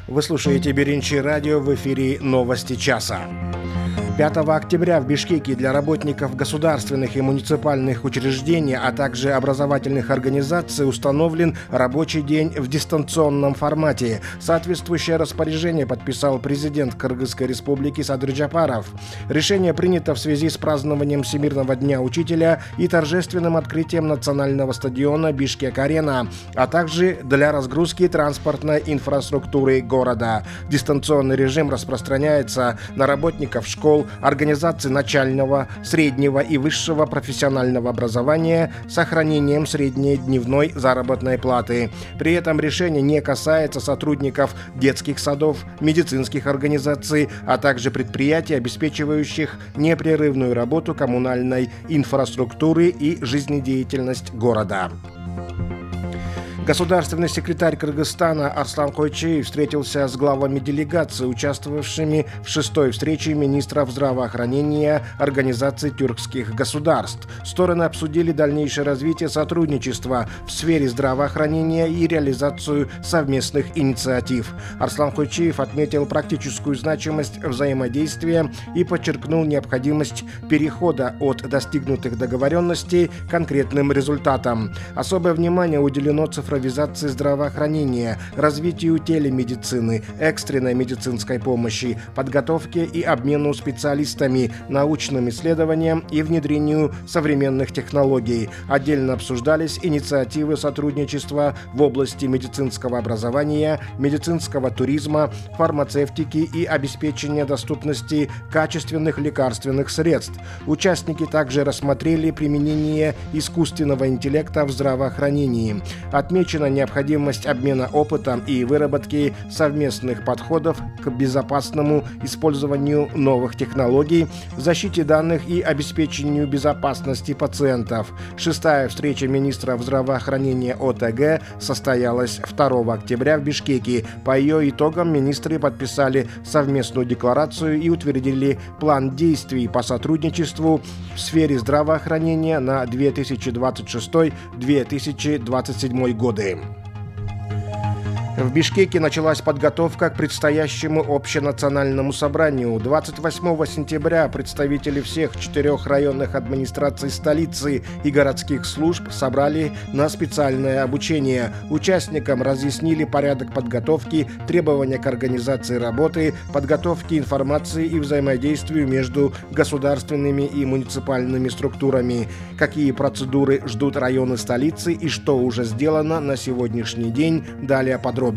Вы слушаете Биринчи радио, в эфире «Новости часа». 5 октября в Бишкеке для работников государственных и муниципальных учреждений, а также образовательных организаций установлен рабочий день в дистанционном формате. Соответствующее распоряжение подписал президент Кыргызской республики Садыр Джапаров. Решение принято в связи с празднованием Всемирного дня учителя и торжественным открытием национального стадиона Бишкек-Арена, а также для разгрузки транспортной инфраструктуры города. Дистанционный режим распространяется на работников школ, организаций начального, среднего и высшего профессионального образования с сохранением средней дневной заработной платы. При этом решение не касается сотрудников детских садов, медицинских организаций, а также предприятий, обеспечивающих непрерывную работу коммунальной инфраструктуры и жизнедеятельность города. Государственный секретарь Кыргызстана Арслан Койчиев встретился с главами делегаций, участвовавшими в 6-й встрече министров здравоохранения Организации тюркских государств. Стороны обсудили дальнейшее развитие сотрудничества в сфере здравоохранения и реализацию совместных инициатив. Арслан Койчиев отметил практическую значимость взаимодействия и подчеркнул необходимость перехода от достигнутых договоренностей к конкретным результатам. Особое внимание уделено цифровизации здравоохранения, развитию телемедицины, экстренной медицинской помощи, подготовке и обмену специалистами, научным исследованиям и внедрению современных технологий. Отдельно обсуждались инициативы сотрудничества в области медицинского образования, медицинского туризма, фармацевтики и обеспечения доступности качественных лекарственных средств. Участники также рассмотрели применение искусственного интеллекта в здравоохранении. Отмечена необходимость обмена опытом и выработки совместных подходов к безопасному использованию новых технологий, защите данных и обеспечению безопасности пациентов. 6-я встреча министров здравоохранения ОТГ состоялась 2 октября в Бишкеке. По ее итогам министры подписали совместную декларацию и утвердили план действий по сотрудничеству в сфере здравоохранения на 2026-2027 годы. В Бишкеке началась подготовка к предстоящему общенациональному собранию. 28 сентября представители всех 4 районных администраций столицы и городских служб собрали на специальное обучение. Участникам разъяснили порядок подготовки, требования к организации работы, подготовке информации и взаимодействию между государственными и муниципальными структурами, какие процедуры ждут районы столицы и что уже сделано на сегодняшний день. Далее подробно.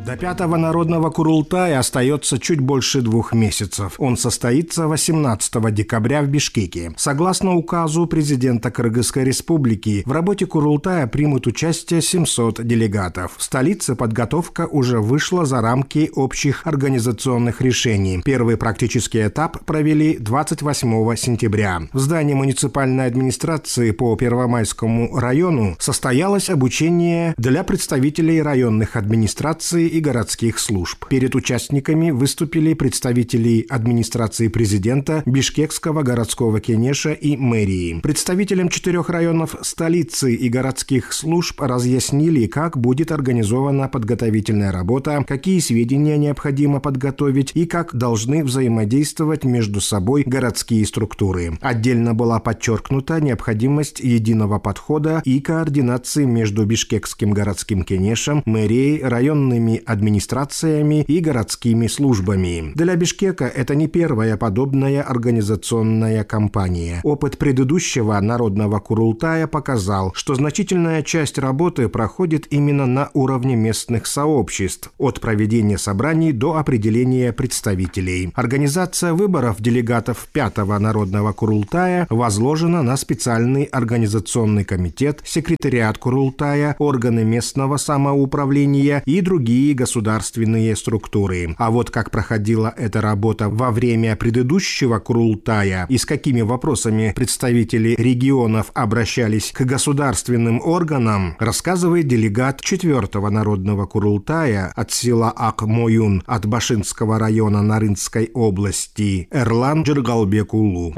До 5-го народного Курултая остается чуть больше 2 месяцев. Он состоится 18 декабря в Бишкеке. Согласно указу президента Кыргызской республики, в работе Курултая примут участие 700 делегатов. В столице подготовка уже вышла за рамки общих организационных решений. Первый практический этап провели 28 сентября. В здании муниципальной администрации по Первомайскому району состоялось обучение для представителей районных администраций и городских служб. Перед участниками выступили представители администрации президента, Бишкекского городского кенеша и мэрии. Представителям 4 районов столицы и городских служб разъяснили, как будет организована подготовительная работа, какие сведения необходимо подготовить и как должны взаимодействовать между собой городские структуры. Отдельно была подчеркнута необходимость единого подхода и координации между Бишкекским городским кенешем, мэрией, районными администрациями и городскими службами. Для Бишкека это не первая подобная организационная кампания. Опыт предыдущего народного Курултая показал, что значительная часть работы проходит именно на уровне местных сообществ, от проведения собраний до определения представителей. Организация выборов делегатов 5-го народного Курултая возложена на специальный организационный комитет, секретариат Курултая, органы местного самоуправления и другие государственные структуры. А вот как проходила эта работа во время предыдущего Курултая и с какими вопросами представители регионов обращались к государственным органам, рассказывает делегат 4-го народного Курултая от села Ак-Моюн от Башинского района Нарынской области Эрлан Джергалбекулу.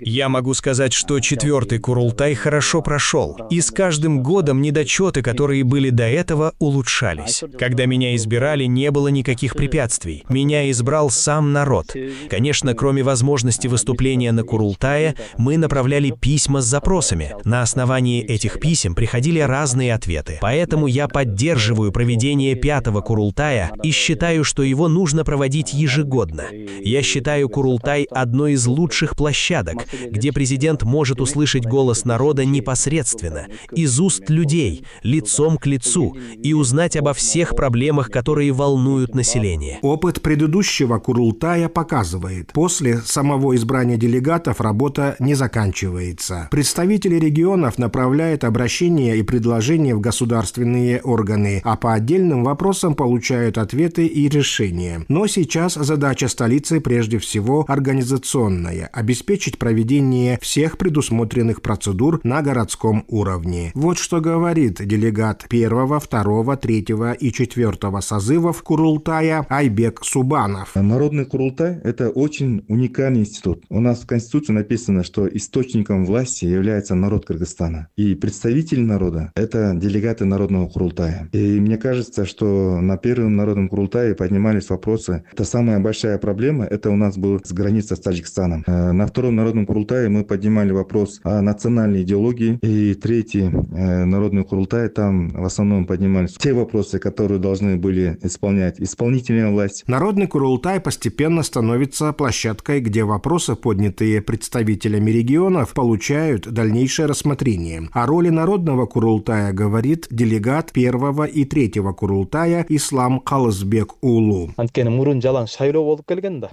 Я могу сказать, что 4-й Курултай хорошо прошел, и с каждым годом недочеты работы, которые были до этого, улучшались. Когда меня избирали, не было никаких препятствий. Меня избрал сам народ. Конечно, кроме возможности выступления на Курултае, мы направляли письма с запросами. На основании этих писем приходили разные ответы. Поэтому я поддерживаю проведение 5-го Курултая и считаю, что его нужно проводить ежегодно. Я считаю Курултай одной из лучших площадок, где президент может услышать голос народа непосредственно, из уст людей, лицом к лицу, и узнать обо всех проблемах, которые волнуют население. Опыт предыдущего Курултая показывает, после самого избрания делегатов работа не заканчивается. Представители регионов направляют обращения и предложения в государственные органы, а по отдельным вопросам получают ответы и решения. Но сейчас задача столицы прежде всего организационная – обеспечить проведение всех предусмотренных процедур на городском уровне. Вот что говорит делегат 1, 2, 3 и 4 созывов Курултая Айбек Субанов. Народный Курултай – это очень уникальный институт. У нас в Конституции написано, что источником власти является народ Кыргызстана. И представители народа – это делегаты Народного Курултая. И мне кажется, что на первом Народном Курултае поднимались вопросы. Это самая большая проблема, это у нас был с границей с Таджикистаном. На втором Народном Курултае мы поднимали вопрос о национальной идеологии. И третий Народный Курултай, там в основном поднимались те вопросы, которые должны были исполнять исполнительная власть. Народный Курултай постепенно становится площадкой, где вопросы, поднятые представителями регионов, получают дальнейшее рассмотрение. О роли Народного Курултая говорит делегат 1 и 3 Курултая Ислам Калызбек Улу.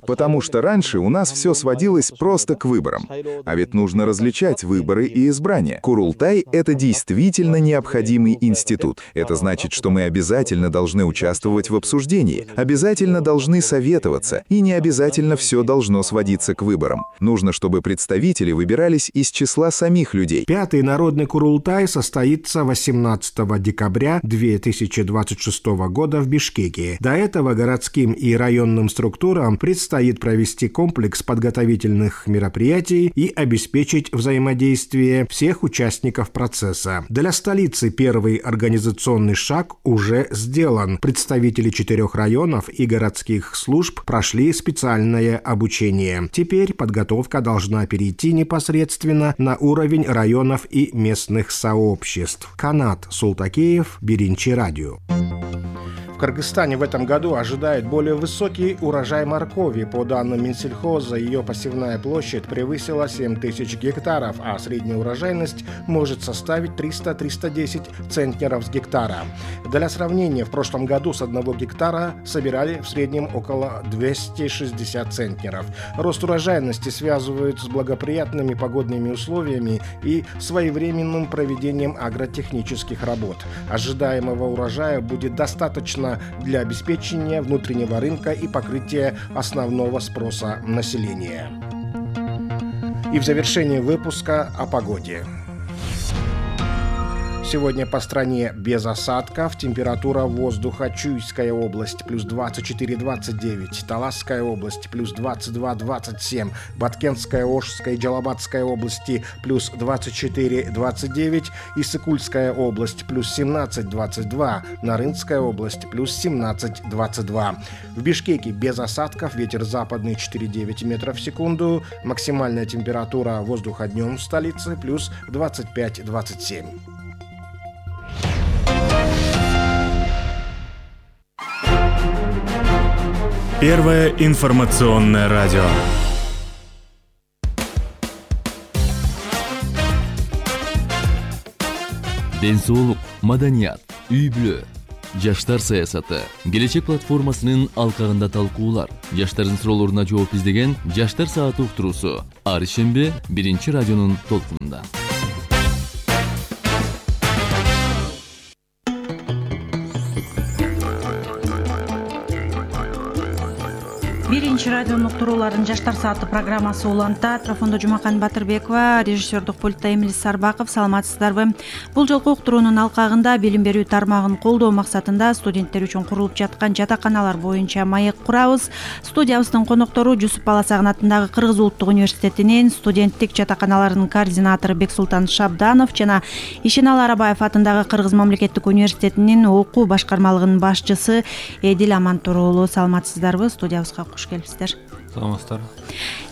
Потому что раньше у нас все сводилось просто к выборам. А ведь нужно различать выборы и избрания. Курултай — это действительно необходимый институт. Это значит, что мы обязательно должны участвовать в обсуждении, обязательно должны советоваться, и не обязательно все должно сводиться к выборам. Нужно, чтобы представители выбирались из числа самих людей. 5-й Народный Курултай состоится 18 декабря 2026 года в Бишкеке. До этого городским и районным структурам предстоит провести комплекс подготовительных мероприятий и обеспечить взаимодействие всех участников процесса. Для столицы первый организационный шаг уже сделан. Представители 4 районов и городских служб прошли специальное обучение. Теперь подготовка должна перейти непосредственно на уровень районов и местных сообществ. Канат Султакеев, Биринчи радио. В Кыргызстане в этом году ожидает более высокий урожай моркови. По данным Минсельхоза, ее посевная площадь превысила 7000 гектаров, а средняя урожайность может составить 300-310 центнеров с гектара. Для сравнения, в прошлом году с 1 гектара собирали в среднем около 260 центнеров. Рост урожайности связывают с благоприятными погодными условиями и своевременным проведением агротехнических работ. Ожидаемого урожая будет достаточно для обеспечения внутреннего рынка и покрытия основного спроса населения. И в завершении выпуска о погоде. Сегодня по стране без осадков. Температура воздуха: Чуйская область плюс 24-29, Таласская область плюс 22-27, Баткенская, Ошская и Джалабадская области плюс 24-29, Иссыкульская область плюс 17-22, Нарынская область плюс 17-22. В Бишкеке без осадков, ветер западный 4,9 метров в секунду, максимальная температура воздуха днем в столице плюс 25-27. Первое информационное радио. Ден соолук, маданият, үй-бүлө, жаштар саясаты, келечек платформасынын алкагында талкуулар, жаштардын суроолоруна жооп издеген Жаштар сааты уктуруусу ар шембе Биринчи радионун толкунунда. биринчи радионун уктурууларын жаштар сааты программасы уланта. Трафондо Жумакан Батырбекова, режиссердук пультта Эмилис Сарбаков. Саламатсыздарбы? Бул жолку уктуруунун алкагында билим берүү тармагын колдоо максатында студенттер үчүн курулуп жаткан жатаканалар боюнча маек курабыз. Студиябыздын коноктору Жусуп Баласагын атындагы Кыргыз улуттук университетинин студенттик жатаканаларынын координатору Бексултан Шабданов жана Ишеналы Арабаев атындагы Кыргыз мамлекеттик университетинин окуу башкармалыгынын башчысы Эдил Амантур уулу. Саламатсыздарбы? Студиябызга куш келипсиздер. Саламатсыздар.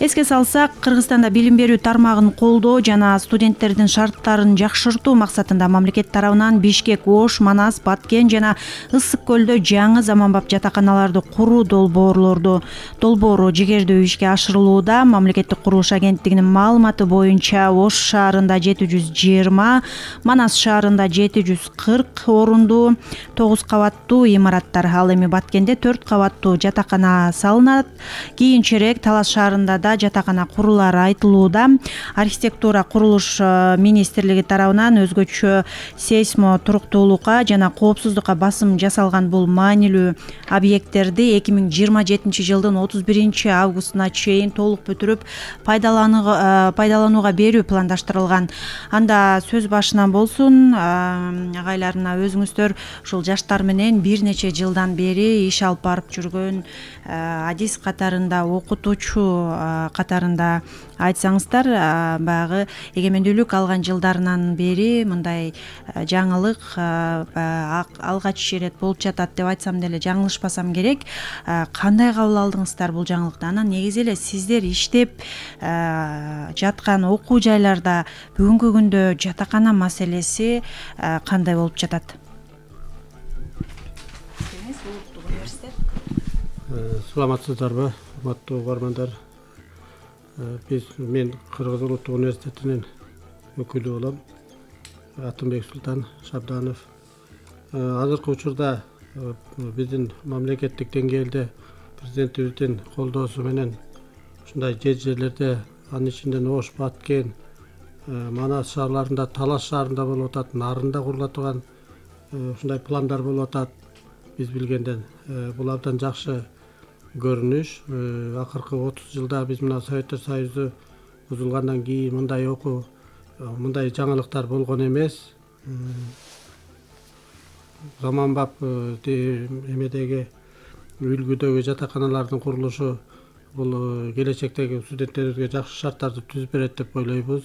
Эске салсак, Кыргызстанда билим берүү тармагын колдоо жана студенттердин шарттарын жакшыртуу максатында мамлекет тарабынан Бишкек, Ош, Манас, Баткен жана Ысык көлдө жаңы заманбап жатаканаларды куруу долбоору жигердүү ишке ашырылууда. Мамлекеттик курулуш агенттигинин маалыматы боюнча Ош шаарында 720, Манас шаарында 740 орундуу 9 кабаттуу имараттар, ал эми Баткенде 4 кабаттуу жатакана салынат. Кийинчерээк Талас шаарында да жатакана курулары айтылууда. Архитектура курулуш министрлиги тарабынан өзгөчө сейсмо туруктуулукка жана коопсуздукка басым жасалган бул маанилүү объекттерди 2027 жылдын 31 августуна чейин толук бүтүрүп пайдаланууга берүү пландаштырылган. Анда сөз башынан болсун, агайларына өзүңүздөр ушул жаштар менен бир нече жылдан бери иш алып барып жүргөн адис катарында, окутуучу катарында айтсаңыздар, баягы эгемендүүлүк алган жылдарынан бери мындай жаңылык алгач ирет болуп жатат деп айтсам деле жаңылышпасам керек. Кандай кабыл алдыңыздар бул жаңылыкты? Анан негизи эле сиздер иштеп жаткан окуу жайларда бүгүнкү күндө жатакана маселеси кандай болуп жатат? Саламатсыздарбы, урматтуу угармандар. Мен Кыргыз улуттук университетинин өкүлү болом. Атым Бексултан Шабданов. Азыркы учурда биздин мамлекеттик деңгээлде президентибиздин колдоосу менен ушундай жерлерде, анын ичинде Ош, Баткен, Манас шаарларында, Талас шаарында болуп атат, Нарында курулат турган ушундай пландар болуп атат. Биз билгенден бул абдан жакшы көрүнүш. Акыркы 30 жылда биз мына Советтер Союзу бузулгандан кийин мындай окуу, мындай жаңылыктар болгон эмес. Заманбап эмедеги үлгүдөгү жатаканалардын курулушу бул келечектеги студенттерибизге жакшы шарттарды түзүп берет деп ойлойбуз.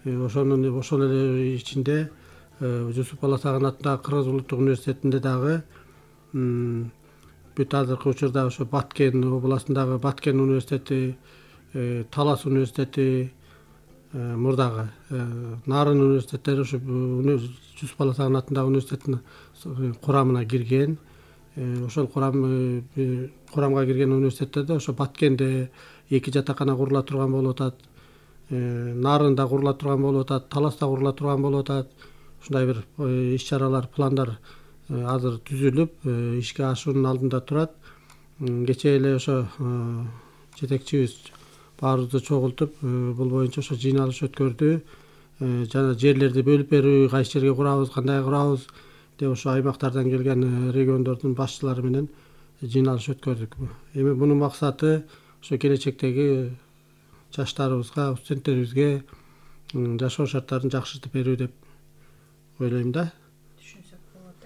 Ошол эле ичинде Жусуп Баласагын атындагы Кыргыз улуттук университетинде дагы бүт азыркы учурда ошо Баткен областындагы Баткен университети, Талас университети, мурдагы Нарын университеттери ошо Жусуп Баласагын атындагы университеттин курамына кирген. Ошол курамга кирген университеттерде ошо Баткенде 2 жатакана курула турган болуп атат, Нарында курула турган болуп атат, Таласта курула турган болуп атат. Ушундай бир иш-чаралар, пландар азыр түзүлүп, ишке ашуунун алдында турат. Кечээ эле ошо жетекчибиз баарыбызды чогултуп, бул боюнча ошо жыйналыш өткөрдү. Жана жерлерди бөлүп берүү, кайсы жерге курабыз, кандай курабыз деп ошо аймактардан келген региондордун башчылары менен жыйналыш өткөрдүк. Эми мунун максаты ошо келечектеги жаштарыбызга, студенттерибизге жашоо шарттарын жакшыртып берүү деп ойлойм да.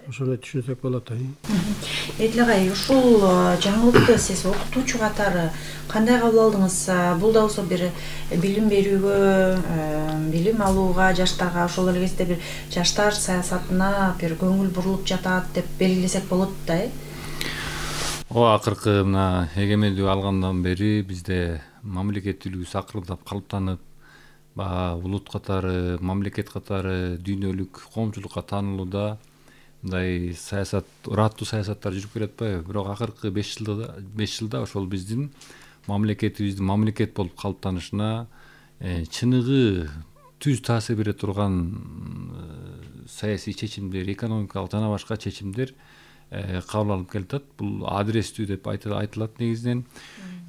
Ошондой түшүнсөк болот. Эдил агай, ушул жаңылыкты сиз окутуучу катары кандай кабыл алдыңыз? Бул да болсо бир билим берүүгө, билим алууга, жаштарга ошол эле кезде бир жаштар саясатына бир көңүл бурулуп жатат деп белгилесек болот да, Акыркы мына эгемендүүлүк алгандан бери бизде мамлекеттүүлүгүбүз акырындап калыптанып, улут катары, мамлекет катары дүйнөлүк коомчулукка таанылууда мындай саясат, ыраттуу саясаттар жүрүп келе атпайбы? Бирок акыркы 5 жылда ошол биздин мамлекетибиздин мамлекет болуп калыптанышына чыныгы түз таасир бере турган саясий чечимдер, экономикалык жана башка чечимдер кабыл алынып келатат. Бул адрестүү деп айтылат негизинен.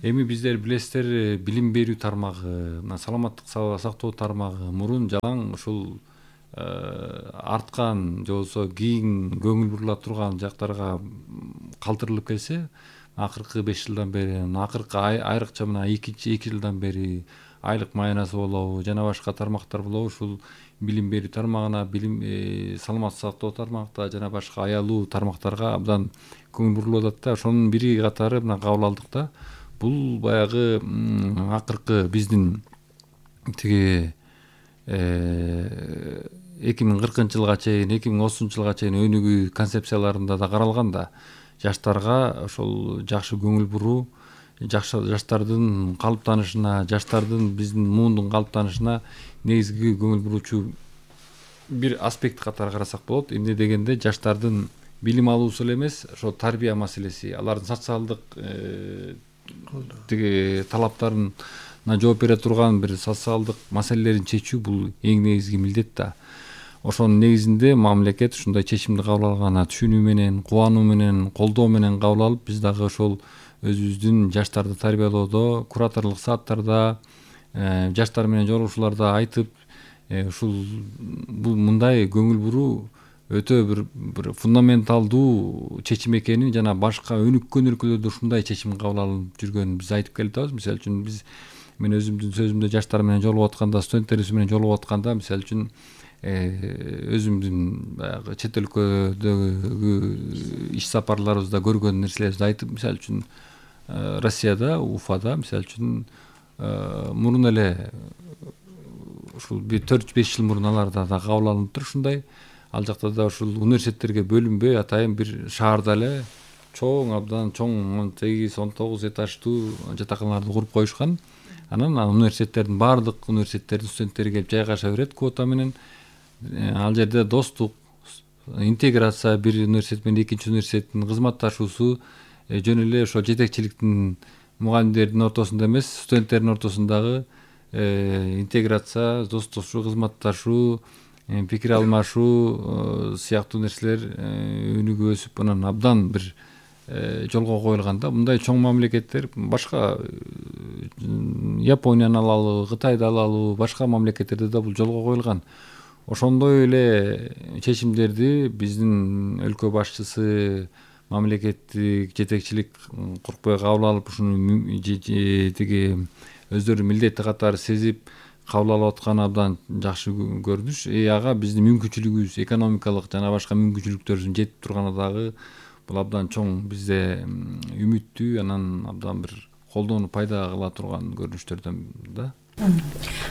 Эми биздер билесиздер, билим берүү тармагы, саламаттык сактоо тармагы мурун жалаң ушул арткан же болбосо кийин көңүл бурула турган жактарга калтырылып келсе, акыркы 5 жылдан бери, акыркы айрыкча мына 2 жылдан бери айлык маянасы болобу, жана башка тармактар болобу, ушул билим берүү тармагына, билим саламаттык сактоо тармакта жана башка аялуу тармактарга абдан көңүл бурулуп атат да. Ошонун бири катары мына кабыл алдык да. Бул баягы акыркы биздин тиги 2040 жылга чейин, 2030 жылга чейин өнүгүү концепцияларында да каралган да. Жаштарга ошол жакшы көңүл буруу, жаштардын калыптанышына, жаштардын биздин муундун калыптанышына негизги көңүл буруучу бир аспект катары карасак болот. Эмне дегенде жаштардын билим алуусу эле эмес, ошо тарбия маселеси, алардын социалдык тиги талаптарына жооп бере турган бир социалдык маселелерин чечүү бул эң негизги милдет да. Ошонун негизинде мамлекет ушундай чечимди кабыл алганына түшүнүү менен, кубануу менен, колдоо менен кабыл алып, биз дагы ошол өзүбүздүн жаштарды тарбиялоодо, кураторлук сааттарда, жаштар менен жолугушууларда айтып, ушул бул мындай көңүл буруу өтө бир фундаменталдуу чечим экенин жана башка өнүккөн өлкөлөрдө ушундай чечим кабыл алынып жүргөнүн биз айтып келе атабыз. Мисалы үчүн мен өзүмдүн сөзүмдө жаштар менен жолугуп атканда, студенттерибиз менен жолугуп атканда, мисалы үчүн өзүмдүн баягы чет өлкөдөгү иш сапарларыбызда көргөн нерселерибизди айтып, мисалы үчүн Россияда, Уфада, мисалы үчүн мурун эле ушул 4-5 жыл мурун аларда да кабыл алыныптыр ушундай. Ал жакта да ушул университеттерге бөлүнбөй атайын бир шаарда эле чоң, абдан чоң 18-19 этаждуу жатаканаларды куруп коюшкан. Анан университеттердин баардык университеттердин студенттери келип жайгаша берет квота менен. Ал жерде достук, интеграция, бир университет менен экинчи университеттин кызматташуусу жөн эле ошо жетекчиликтин мугалимдердин ортосунда эмес, студенттердин ортосундагы интеграция, достошуу, кызматташуу, пикир алмашуу сыяктуу нерселер өнүгүп өсүп, анан абдан бир жолго коюлган да. Мындай чоң мамлекеттер башка Японияны алалы, Кытайды алалы, башка мамлекеттерде да бул жолго коюлган. Ошондой эле чечимдерди биздин өлкө башчысы, мамлекеттик жетекчилик куркпай кабыл алып, ушуну тиги өздөрүнүн милдети катары сезип кабыл алып атканы абдан жакшы көрүнүш. Ага биздин мүмкүнчүлүгүбүз, экономикалык жана башка мүмкүнчүлүктөрүбүздүн жетип турганы дагы бул абдан чоң бизде үмүттүү, анан абдан бир колдоону пайда кыла турган көрүнүштөрдөн да.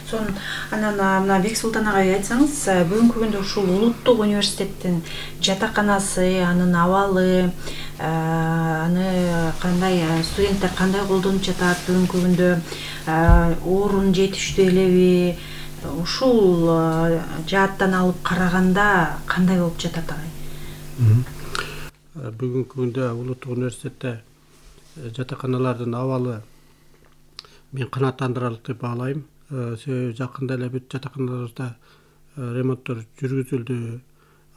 Сонун анан мына Бексултан агай айтсаңыз, бүгүнкү күндө ушул улуттук университеттин жатаканасы, анын абалы, аны кандай студенттер кандай колдонуп жатат, бүгүнкү күндө орун жетиштүү элеби, ушул жааттан алып караганда кандай болуп жатат агай? Бүгүнкү күндө улуттук университетте жатаканалардын абалы мен канааттандырарлык деп баалайм. Себеби жакында эле бүт жатаканаларыбызда ремонттор жүргүзүлдү.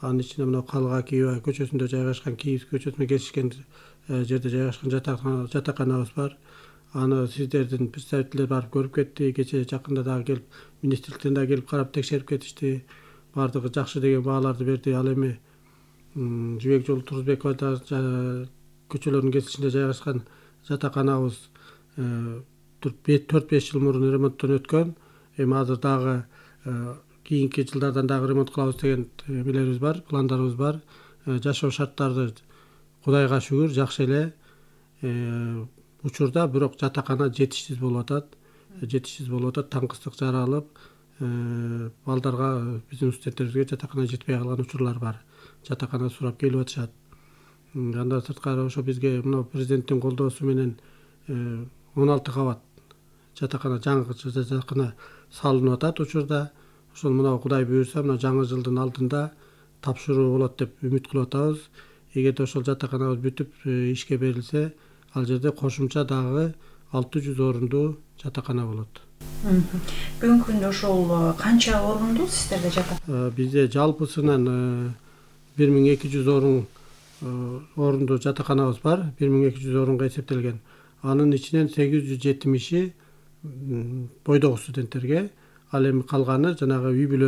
Анын ичинде мына Калга Кийва көчөсүндө жайгашкан, Кийев көчөсүнө кесишкен жерде жайгашкан жатаканабыз бар. Аны сиздердин представительдер барып көрүп кетти. Кечээ жакында дагы келип, министрликтен дагы келип карап текшерип кетишти. Бардыгы жакшы деген бааларды берди. Ал эми Жибек жолу Турузбекова көчөлөрүнүн кесишинде жайгашкан жатаканабыз 4-5 жыл мурун ремонттон өткөн. Эми азыр дагы кийинки жылдардан дагы ремонт кылабыз деген эмелерибиз бар, пландарыбыз бар. Жашоо шарттары Кудайга шүгүр жакшы эле. Учурда бирок жатакана жетишсиз болуп атат. Таңкыстык жаралып, балдарга, биздин студенттерибизге жатакана жетпей калган учурлар бар. Жатакана сурап келип атышат. Андан сырткары ошо бизге мына президенттин колдоосу менен 16 кабат жаңы жатакана салынып атат учурда. Ошол мына Кудай буйрса, мына жаңы жылдын алдында тапшыруу болот деп үмүт кылып атабыз. Эгерде ошол жатаканабыз бүтүп ишке берилсе, ал жерде кошумча дагы 600 орундуу жатакана болот. Бүгүнкү күндө ошол канча орундуу сиздерде жатакана? Бизде жалпысынан 1200 орундуу жатаканабыз бар. 1200 орунга эсептелген. Анын ичинен 870-и бойдогу студенттерге, ал эми калганы жанагы үй бүлө